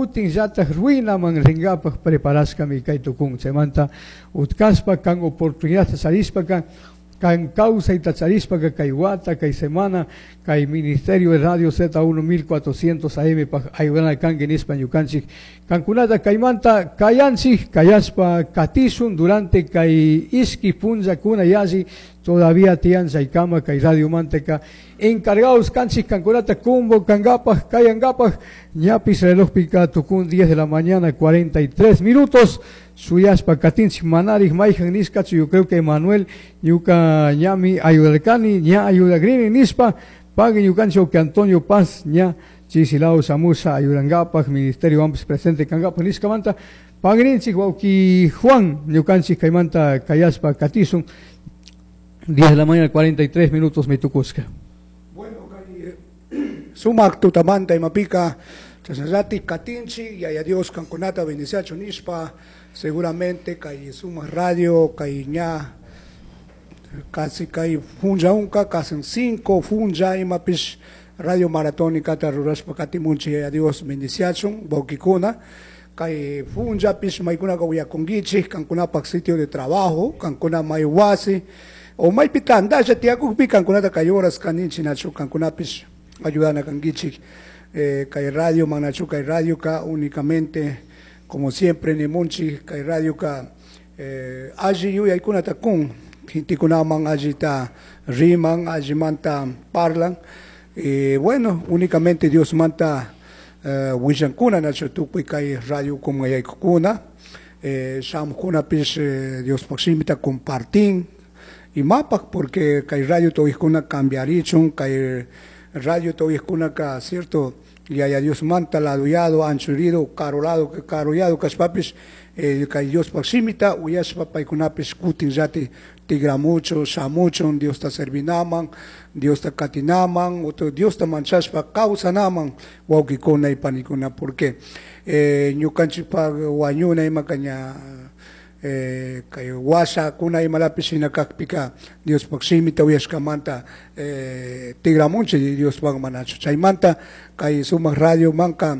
Kutinllataj ruinaman ringapaj preparashkami kay tukun. Chaymanta utkashpa kan oportunidadta charishpaka, kan kawsayta charishpaka kay wata, kay semana, kay Ministerio de Radio Z1 1400 AM paj ayudana kanki nishpa ñukanchik kankunata kaymanta kayanchik, kayashpa katishun durante kay ishki punllakuna yalli todavía tiyan chaykama kay radiomantaka encargados kanchik kankunata convocankapaj, kayankapaj. Ñapis relojpika tukun 10 de la mañana 43 minutos. Suyashpa katinchik manarik mayjan nishkachu. Yo creo que Manuel ñuka ñami ayudarkani, ña ayudagrini nishpa pagui ñukanchik que Antonio Paz ña chisilao shamusha ayudankapaj ministerio ampis presente kankapaj nishkamanta pagrinchik wawki Juan ñukanchik kaymanta kayashpa katisun. 10 de la mañana 43 minutos mitukushka. Bueno, kay sumak tutamanta imapika chashnallati katinchik, yaya Dios kankunata bendiciachu nishpa. Seguramente kay Sumak Radio kay ña casi kay funcha unka, casi 5 funcha imapish radio maratónica rurashpa katimunchik. Yaya Dios bendiciachun wawkikuna kay funchapish maykunaka uyakunkichik kankunapak sitio de trabajo, kankuna may wasi o maypi tandalla tiyakukpi kankunata kay horas kaninchik nachu kankunapish ayudana kankichik kay radio manachu. Kay radio ka únicamente, como siempre nimunchik, kay radio ka alli yuyaykunata kun gentekunaman, allita riman, allimanta parlan. Bueno, únicamente Dios manta willankuna nachu tukuy kay radio kumayaykukuna shamuqkunapish Diospaq shimita compartin imapak, porque kay radio tawikuna cambiarichun, kay radio tawikkunaka, cierto, yaya Dios manta laduyado, anchurido, karulado, karuyado kashpapish kay Diospaq shimita uyashpa paykunapish kutinllati tigramuchun, shamuchun Diosta servinaman, Diosta katinaman, otro Diosta manchashpa kawsanaman wawkikuna y panikuna, porque ñukanchikpak wañuna imaka ña kay washakuna imalapish shina kakpika Diospaq shimita uyashkamanta tigramunchik Diospaq manachu. Chaymanta kay sumak radio manka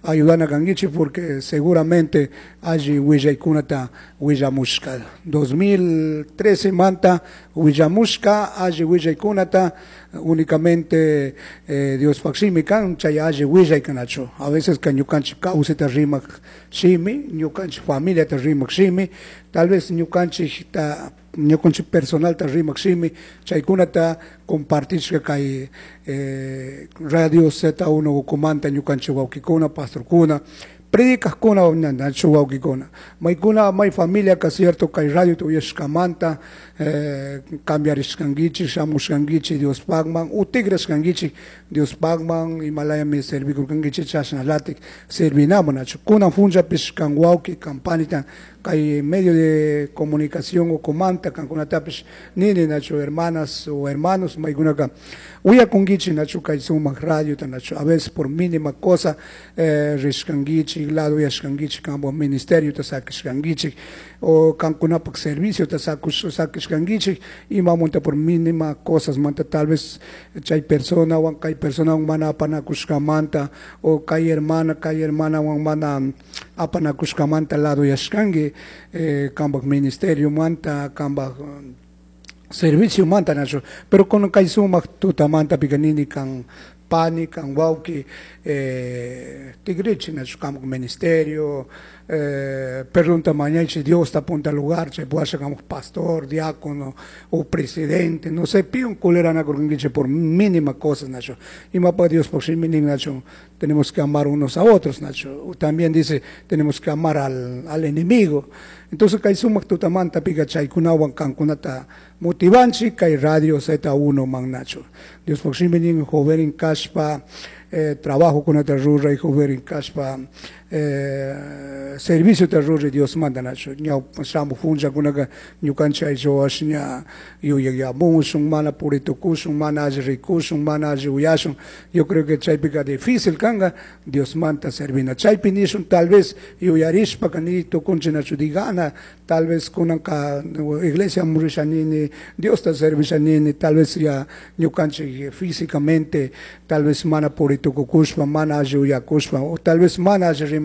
ayudana kankichik, porque seguramente alli willaykunata willamushka 2013 manta willamushka alli willaykunata únicamente Diospaq shimi kan chay alli willay kanachu. A veces ka ñukanchik kawsayta rimak shimi, ñukanchik familiata rimak shimi, tal vez ñukanchikta ñukanchik personalta rimak shimi, chaykunata compartishka kay Radio Z1 ukumanta ñukanchik wawkikuna, pastorkuna, predicajkuna nachu wawkikuna maykuna may familia ka, cierto, kay radio uyashkamanta cambiarishkankichik, shamushkankichik Diospakman, utigrashkankichik Diospakman, imalayami servikurkankichik chashnalatik servinaman nachu. Kunan punllapish kan wawki kan panita kay medio de comunicación ukumanta kankunatapish nini nachu, hermanas o hermanos maykunaka uyakunkichik nachu kay sumak radiota nachu, a veces por mínima cosa rishkankichik, lado uyashkankichik, kanpak ministerio ta sakishkankichik o kankunapak servicio ta sakishkankichik imamunta por mínima cosas manta, tal vez chay persona wan kay persona wan mana apanakushkamanta o kay hermana wan mana apanakushkamanta lado uyashkanki kanpak ministerio manta, kanpak servicio manta nachu. Pero con kay sumak tutamanta pika nini kan pani kan wawki tigrichi nachu kanpak ministerio, perdonta mañaychi Diosta punta lugar chay puasha kanpak pastor, diácono o presidente, no sé, piun kuleranakurkankichik por mínima cosa nachu. Imapaq Diospaq shimi nin nachu, tenemos que amar unos a otros nachu. También dice tenemos que amar al enemigo. Entonces kay sumak tutamanta pika chaykunawan kankunata motivanchik kay Radio Z1 man nachu. Diospaq shimi nin joven kashpa trabajo kunata ruray, joven kashpa servicio ta ruray Dios manda nachu. Ñaw shamuq punllakunaka ñukanchik aylluwash ña yuyakyamushun, mana puritukushun, mana alli rikushun, mana alli uyashun. Yo creo que chaypika difícil kanka Dios manta servina. Chaypi nishun tal vez yuyarishpaka ni tukunchik nachu digana, tal vez kunanka iglesia murishanini, Diosta servishanini, tal vez ya ñukanchik físicamente tal vez mana puritukukushpa, mana alli uyakushpa o tal vez mana alli.